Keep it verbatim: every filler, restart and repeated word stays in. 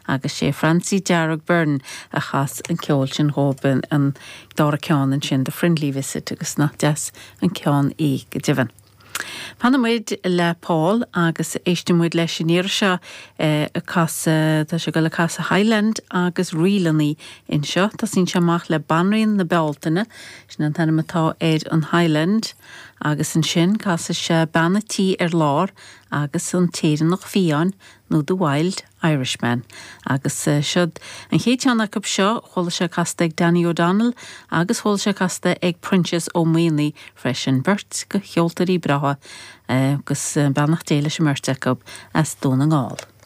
Agus sé Francie Dearg Byrne a chas an ceol sin dhóibh an dara ceann ansin The Friendly Visit agus nach deas an ceann í go deimhin. Fanfaimid le Paul agus éistfimid leis an iarraidh seo ag casadh tá sé ag dul a casadh Highland agus ríleanna anseo Tosaíonn sé amach le Banríon na Bealtaine sin an t-ainm atá ar an Highland agus ansin casfaidh sé Bean an Tí ar Lár agus an tÉireannach Fiáin nó The Wild Irishman. Agus uh, siod an chéad cheann acu seo chuala sé casta ag Danny O'Donnell agus chuala sé casta ag Proinsias Ó Maonaigh freisin beirt de cheoltóirí breátha uh, agus uh, beannacht Dé leis an mbeirt acu as Dún na nGall.